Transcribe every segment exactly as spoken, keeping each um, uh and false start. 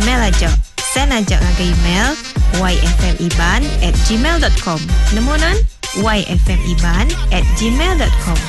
email aja. Send aja ngagai email yfmiban at gmail dot com. Nemu nan? yfmiban at gmail dot com.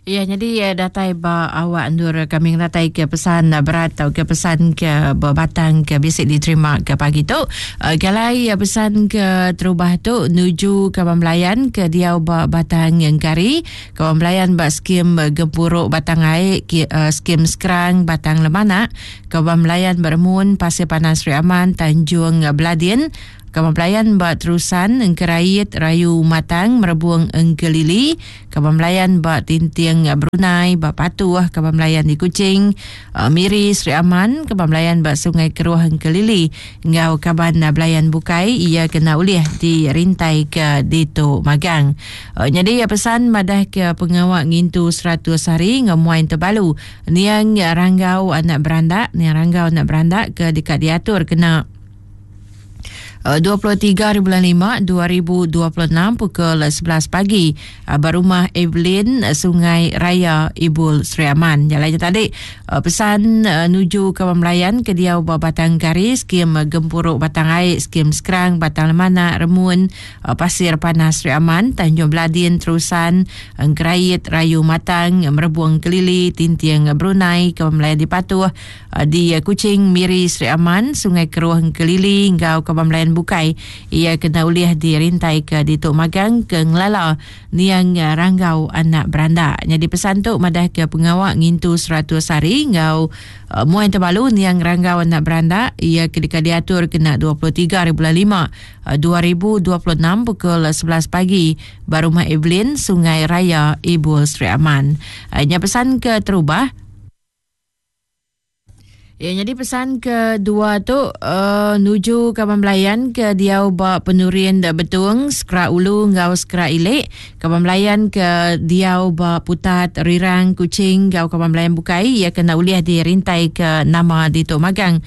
Ya, jadi datai ba awak endur kami datai ke pesan berat atau ke pesan ke berbatang ke bisik diterima ke pagi tu. Uh, galai pesan ke terubah tu nuju ke Bamlayan ke diau ba Batang Engkari, ke Bamlayan ba skim Gempuruk Batang Ai, ke, uh, skim Skrang Batang Lemanak, ke Bamlayan Bermun Pasir Panas Sri Aman Tanjung Beladin, Kaban Belayan ba Terusan Engkerait Rayu Matang Merebung Engkelili, Kaban Belayan ba Tinting Brunei ba Patuh, Kaban Belayan di Kuching, uh, Miri Sri Aman, Kaban Belayan ba Sungai Keruh Engkelili, ngau Kaban Belayan Bukai ia kena ulih dirintai ke Ditu Magang. Uh, jadi ia pesan madah ke pengawak ngintu seratus hari ngamuain terbalu niang ranggau anak berandak, niang ranggau anak berandak ke dekat diatur kena dua puluh tiga bulan lima dua ribu dua puluh enam pukul sebelas pagi berumah Evelyn Sungai Raya Ibul Sri Aman. Jalannya tadi pesan nuju ke Melayan ke diau ba Batang Kari, skim Gempuruk Batang Aik, skim Skrang Batang Lemanak, Remun Pasir Panas Sri Aman, Tanjung Beladin, Terusan Engkerait Rayu Matang, Merebung Kelili, Tinting Brunei, ke Melayan di Patuh di Kuching, Miri Sri Aman, Sungai Keruh Kelili, ngau ke Melayan Bukai ia kena ulih dirintai ke Dituk Magang ke Ngelala niang ranggau anak berandak. Jadi pesan tu madah ke pengawak ngintu seratus hari ngau uh, muai terbalu niang ranggau anak berandak ia ketika diatur kena dua puluh tiga bulan lima dua ribu dua puluh enam pukul sebelas pagi barumah Evelyn Sungai Raya Ibul Sri Aman. Uh, nya pesan ke terubah. Ya, jadi pesan kedua tu uh, nuju Kaban Belayan ke diau ba Penurin Betung, Skra Ulu ngau Skra Ilik, Kaban Belayan ke diau ba Putat Rirang Kuching ngau Kaban Belayan Bukai ia kena uliah dirintai ke nama di Tok Magang.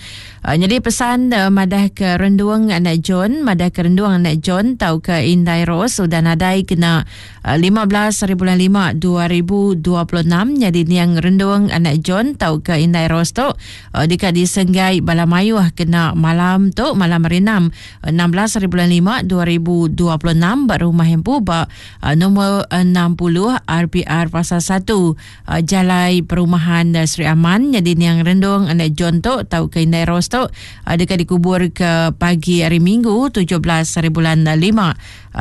Uh, jadi pesan uh, madah ke Renduang anak John, madah ke Renduang anak John tau ke Indai Rose sudah nadai kena uh, lima belas bulan lima dua ribu dua puluh enam. Jadi niang Renduang anak John tau ke Indai Rose tu uh, dekat di Senggai Balamayuh kena malam tu malam hari enam enam belas bulan lima dua ribu dua puluh enam ba rumah hempu ba uh, nombor enam puluh R P R Pasar satu uh, Jalai Perumahan uh, Sri Aman. Jadi niang Rendung anak John tu tau ke Indai Rose tu uh, dekat dikubur ke pagi hari Minggu tujuh belas bulan lima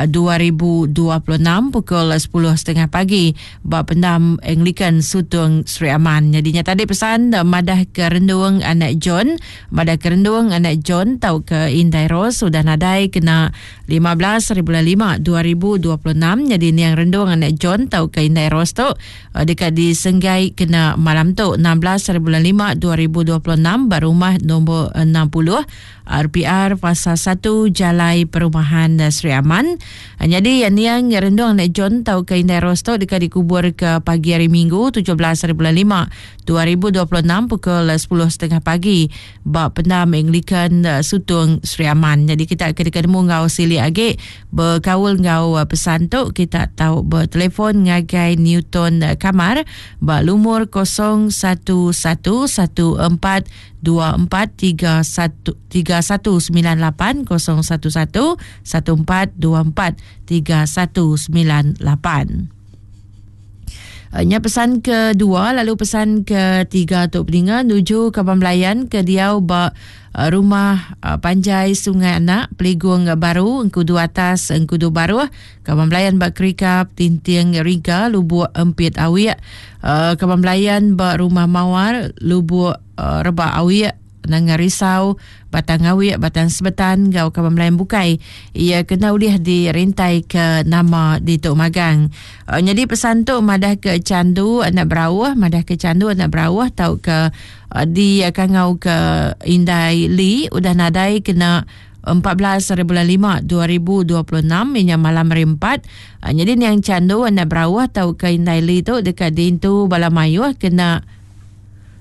dua ribu dua puluh enam pukul sepuluh tiga puluh pagi ba pendam Anglican Sutung Sri Aman. Jadinya tadi pesan madah ke Rendung anak John, madah ke Rendung anak John tau ke Indai Rose sudah nadai kena lima belas bulan lima dua ribu dua puluh enam. Jadi niang Rendung anak John tau ke Indai Rose tu dekat di Senggai kena malam tu enam belas bulan lima dua ribu dua puluh enam ba rumah nombor enam puluh R P R Pasar satu Jalai Perumahan Sri Aman. Jadi niang Rendung anak John tau ke Indai Rose tu dekat dikubur ke pagi hari Minggu tujuh belas bulan lima dua ribu dua puluh enam pukul sepuluh tiga puluh pagi ba pendam Anglican Sutung Sri Aman. Jadi kita ketika nemu ngau sili agi berkaul ngau pesan tu kita tahu bertelefon ngagai Newton Kamar ba lumur kosong satu satu satu empat dua empat tiga satu tiga satu sembilan lapan kosong satu satu satu empat dua empat tiga satu sembilan lapan. Nya pesan kedua, lalu pesan ketiga tu peninga nuju Kaban Belayan ke diau ba rumah Panjai Sungai Anak, Peligung Baru, Engkudu Atas, Engkudu Baruh, Kaban Belayan ba Kerikap, Tinting Riga, Lubuk Empit Awiak, Kaban Belayan ba Rumah Mawar, Lubuk Rebak Awiak, Nanga Risau, Batang Awiak, Batang Sebetan, gau Kaban Melayan Bukai ia kena ulih dirintai ke nama di Tok Magang. Uh, jadi pesan tu madah ke Candu anak Berawah, madah ke Candu anak Berawah tau ke uh, di Kangau ke Indai Li udah nadai kena empat belas bulan lima dua ribu dua puluh enam inya malam hari empat. Uh, jadi niang Candu anak Berawah tau ke Indai Li tu dekat diintu Balamayuh kena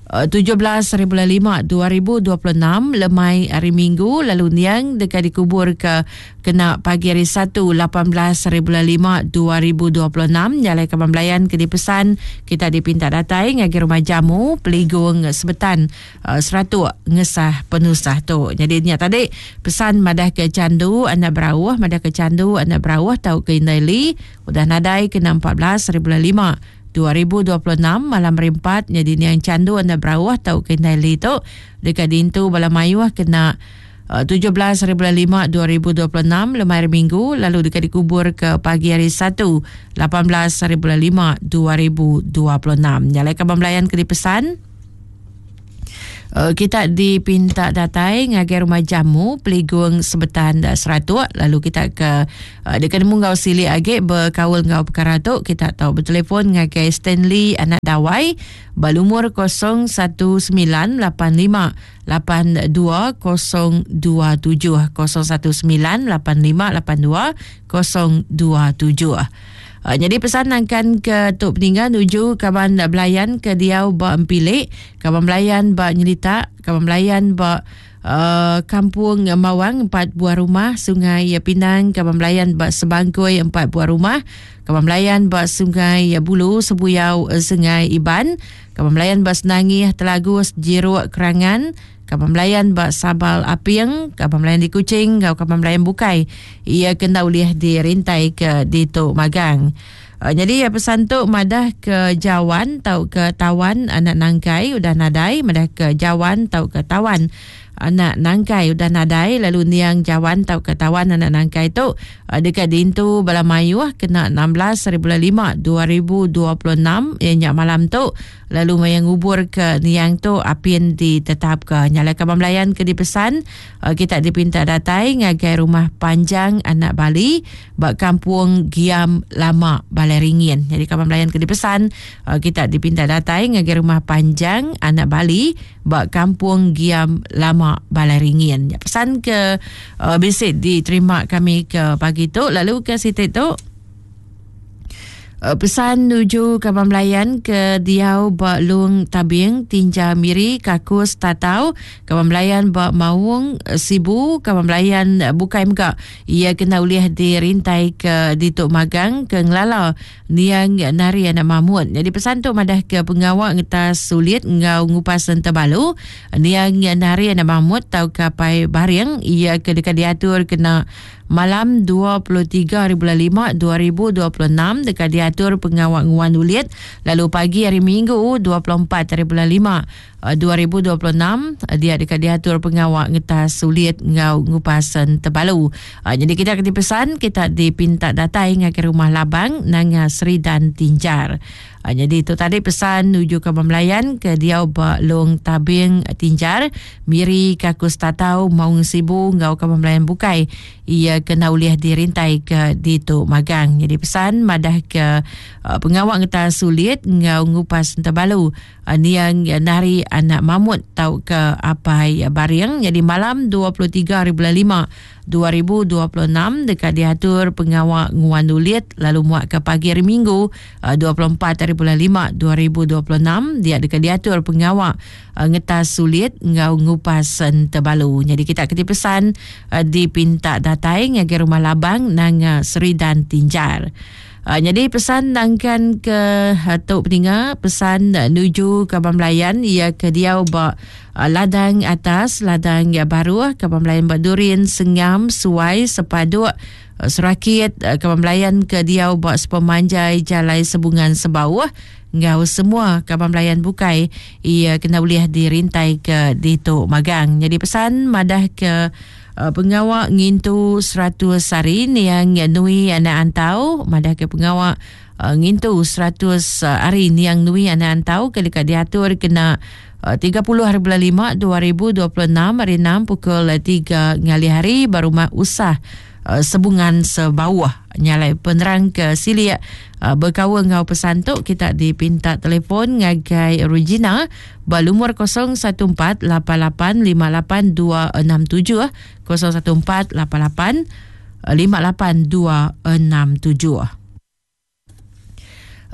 tujuh belas hari bulan lima dua ribu dua puluh enam lemai hari Minggu lalu niang dekat dikubur ke kena pagi hari Satu lapan belas hari bulan lima dua ribu dua puluh enam. Nyalai kaban belayan ke dipesan kita dipinta datai ngagai rumah jamu Peligung Sebetan uh, Seratuk ngesah penusah tu. Jadi nya tadi pesan madah ke candu anak berauh, madah ke candu anak berauh tau ke Indai Li udah nadai kena empat belas hari bulan lima dua ribu dua puluh enam malam hari empat. Jadi niang candu anak berauh tau ke Indai Li tu dekat dintu bala mayuh kena uh, tujuh belas hari bulan lima dua ribu dua puluh enam lemai hari Minggu lalu dekat dikubur ke pagi hari Satu lapan belas hari bulan lima dua ribu dua puluh enam. Nyalai kaban belayan ke dipesan Uh, kita dipinta datai ngagai rumah jamu Peligung Sebetan Seratuk lalu kita ke uh, dekat nemu ngau silik age berkaul ngau perkara tu kita tahu bertelefon ngagai Stanley anak Dawai berlumur kosong satu sembilan lapan lima lapan dua kosong dua tujuh kosong satu sembilan lapan lima lapan dua kosong dua tujuh. Uh, jadi pesan akan ke Tok Peninggal nuju kaban belayan ke diau ba Empilik, kaban belayan ba Nyelita, kaban belayan ba uh, Kampung Mawang empat buah rumah, Sungai Pinang, kaban belayan ba Sebangkoi empat buah rumah, kaban belayan ba Sungai Bulu, Sebuyau Sungai Iban, kaban belayan ba Senangih, Telagus, Jiruk Kerangan, kaban belayan ba Sabal Apiang, kaban belayan di Kuching, kau kaban belayan bukai. Ia kena ulih dirintai ke di Tok Magang. Uh, jadi ya pesan tu madah ke Jawan tau ke Tawan anak Nangkai udah nadai, madah ke Jawan tau ke Tawan anak Nangkai udah nadai lalu niang Jawan tau ke Tawan anak Nangkai tu uh, dekat dintu bala mayuh kena enam belas hari bulan lima dua ribu dua puluh enam ya nyak malam tu lalu mayang ngubur ke niang tu apin ditetap ke nyala kaban belayan ke dipesan uh, kita dipinta datai ngagai rumah panjang anak Bali bak kampung Giam Lama Balai Ringin. Jadi kaban belayan ke dipesan uh, kita dipinta datai ngagai rumah panjang anak Bali bak kampung Giam Lama Balai Ringin. Ya, pesan ke uh, bisik diterima kami ke pagi tu lalu ke situ tu uh, pesan nuju kaban belayan ke diau ba Lung Tabing Tinja Miri Kakus Tatau, kaban belayan ba Maung Sibu, kaban belayan bukai mega ia kena ulih dirintai ke di Tok Magang ke Ngelala niang Nari anak Mahmud. Jadi pesan tu madah ke pengawak ngetas sulit ngau ngupas sentabalu niang Nari anak Mahmud tau ke Pai Baring ia ke dekat diatur kena malam dua puluh tiga hari bulan lima dua ribu dua puluh enam dekat diatur pengawak nguan ulit lalu pagi hari Minggu dua puluh empat hari bulan lima dua ribu dua puluh enam dia dekat diatur pengawak ngetas sulit ngau ngupasan tebalu. Jadi kita kena pesan kita dipinta datai ngagai rumah Labang Nanga Seri dan Tinjar. Jadi itu tadi pesan nuju ke Belayan ke diau ba Long Tabing Tinjar Miri Kakus Tatau Maung Sibu ngau ke Belayan bukai ia kena ulih dirintai ke di Tok Magang. Jadi pesan madah ke uh, pengawak ngetas sulit ngau ngupas tebalu uh, niang Nari anak Mahmud tau ke Apai Baring. Jadi malam dua puluh tiga hari bulan lima dua ribu dua puluh enam dekat diatur pengawak nguan ulit lalu muat ke pagi hari Minggu dua puluh empat hari bulan lima dua ribu dua puluh enam dia dekat diatur pengawak ngetas sulit ngau ngupas tebalu. Jadi kita kena pesan dipinta datai ngagai rumah Labang Nanga Seri dan Tinjar. Uh, jadi pesan nangkan ke uh, Tok Peninga, pesan uh, nuju kaban belayan ia ke diau ba uh, ladang atas, ladang ya baru, kaban belayan ba Durin, Sengam, Suai, Sepaduk, uh, Serakit, uh, kaban belayan ke diau ba Sepemanjai, Jalai Sebungan Sebawah, ngau semua kaban belayan bukai ia kena boleh dirintai ke di Tok Magang. Jadi pesan madah ke Uh, pengawak ngintu seratus hari niang nui anak antau, madah ke pengawak uh, ngintu seratus hari niang nui anak antau ke dekat diatur kena uh, tiga puluh hari bulan lima dua ribu dua puluh enam hari enam pukul tiga ngalih hari baru mak usah uh, Sebungan Sebawah. Nyalai penerang ke silik uh, berkawan ngau pesan tu kita dipinta telefon ngagai Regina berlumur kosong satu empat lapan lapan lima lapan dua enam tujuh kosong satu empat lapan lapan lima lapan dua enam tujuh.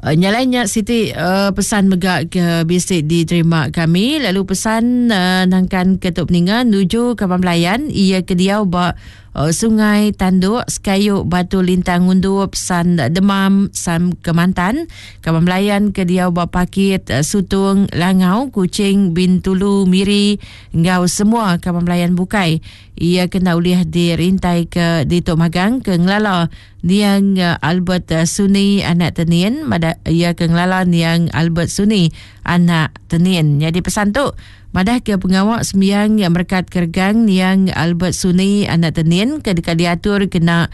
Uh, nyalainya Siti uh, pesan mega ke bisi diterima kami lalu pesan uh, nangkan ketuk peninga nuju ke pembelayan ia ke diau ba uh, Sungai Tanduk Sekayu Batu Lintang Undup San Demam San Kemantan kaban belayan ke diau ba Pakit uh, Sutung Langau Kuching Bintulu Miri ngau semua kaban belayan bukai ia kena ulih dirintai ke di Tok Magang ke ngelala niang Albert Suni anak Tenian mada ia ke ngelala niang Albert Suni anak Tenian. Jadi pesan tu madah ke pengawak sembiang yang merekat kergang niang Albert Suni anak Tenian ke dekat diatur kena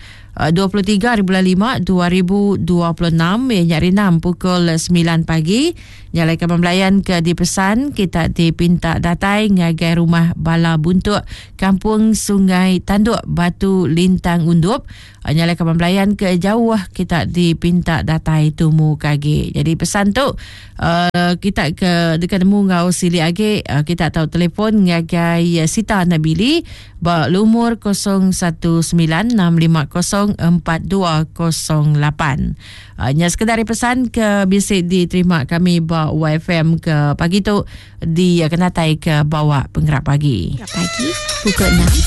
dua puluh tiga bulan lima dua ribu dua puluh enam ya nyari enam pukul sembilan pagi. Nyalai kaban belayan ke dipesan kita dipinta datai ngagai rumah Bala Buntuk Kampung Sungai Tanduk Batu Lintang Undup. Nyalai kaban belayan ke jauh kita dipinta datai tumu kagi. Jadi pesan tu uh, kita ke dekat nemu ngau sili agi uh, kita tahu telefon ngagai Sita Nabili ba lumur kosong satu sembilan enam lima kosong empat dua kosong lapan. Uh, nya sekedar pesan ke bisi diterima kami ba Y F M ke pagi tu di kenatai ke bawah penggerak pagi. Pagi pukul enam.